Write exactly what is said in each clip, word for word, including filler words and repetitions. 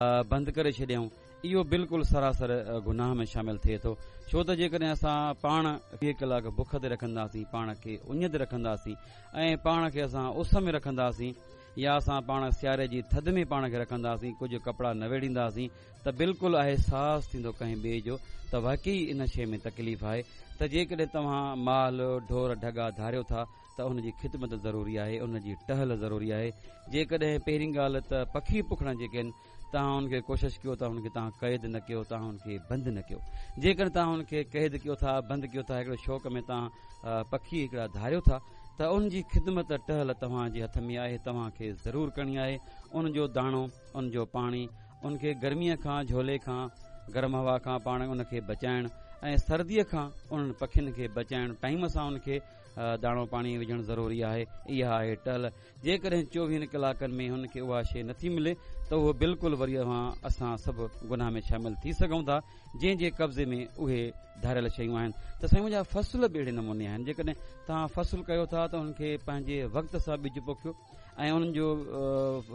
بند ڪري ڇڏيائون، اهو بلڪل سراسر گناهه ۾ شامل ٿئي ٿو. ڇو ته جيڪڏهن اسان پاڻ ويهه ڪلاڪ بک تي رکنداسين، پاڻ کي اڃ تي رکنداسين ۽ پاڻ کي اسان اس ۾ رکنداسين يا اسان پاڻ سياري جي ٿڌ ۾ پاڻ کي رکنداسين، ڪجهه ڪپڙا نه ويڙهينداسين ته بلڪل احساس ٿيندو ڪنهن ٻئي جو ته واقعي ان شيء ۾ تڪليف آهي. ته جيڪڏهن توهان مال ڍور ڍڳا ڌاريو ٿا ته ان جي خدمت ضروري آهي، ان جي ٽهل ضروري آهي. جيڪڏهن پهرين ڳالهه ته پکي پکڻ جيڪي آهن توهان ان کي ڪوشش ڪيو ته ان کي توهان قيد نه ڪيو، توهان ان کي بند نه ڪيو. جيڪڏهن توهان ان کي قيد ڪيو ٿا، بند ڪيو ٿا، هڪڙو شوق ۾ توهان پکي هڪڙا ڌاريو ٿا ته ان جي خدمت ٽهل توهان جي هٿ ۾ آهي، توهان کي ضرور ڪرڻي آهي. ان جو داڻو، ان جو پاڻي، ان کي گرميء کان، جهولي کان، گرم هوا کان پاڻ ان کي بچائڻ ۽ سرديء کان انهن پکين کي بچائڻ، ٽائيم سان ان کي داڻو پاڻي وجهڻ ضروري آهي. اها آهي ٽهل. جيڪڏهن چوويهن ڪلاڪن ۾ هن کي اها شيء نٿي ملي ته اهو بلڪل وري اوهان اسان سڀ گناهه ۾ شامل ٿي سگهون ٿا جنهن جي قبضي ۾ اهي ڌاريل شيون آهن. ته سائين منهنجا فصل به اهڙي نموني آهن. جيڪڏهن توهان فصل ڪيو ٿا ته انهن کي پنهنجي وقت سان ٻج پوکيو ۽ انهن جو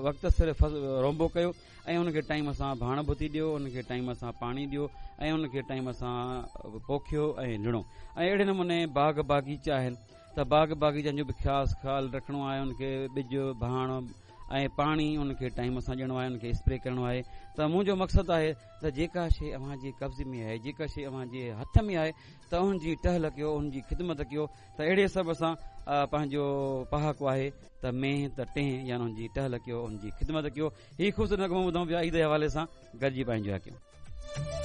وقت سر رونبو ڪيو ۽ ان کي ٽائيم سان ڀاڻ ڀتي ڏيو، ان کي ٽائيم سان پاڻي ڏيو ۽ ان کي ٽائيم سان پوکيو ۽ لڻو. ۽ اهڙي نموني باغ باغيچا آهن ته باغ باغيچن جو به خاص خيال رکڻو آهي. ان کي ٻج ڀاڻ ۽ پاڻي ان کي ٽائيم سان ڏيڻو آهي، ان کي اسپري ڪرڻو آهي. ته منهنجو مقصد آهي ته جيڪا شيء اوهان جي قبضي ۾ آهي، جيڪا شيء اوهان جي هٿ ۾ آهي ته ان جي ٽهل ڪيو، ان جي خدمت ڪيو. ته اهڙي حساب سان پنهنجو پهاڪو آهي ته مينهن ته ٽيهه، يعني ان جي ٽهل ڪيو، ان جي خدمت ڪيو. هي خوبصورت نغمو ٻڌون پيا عيد جي حوالي سان، گڏجي پنهنجو ڪيون.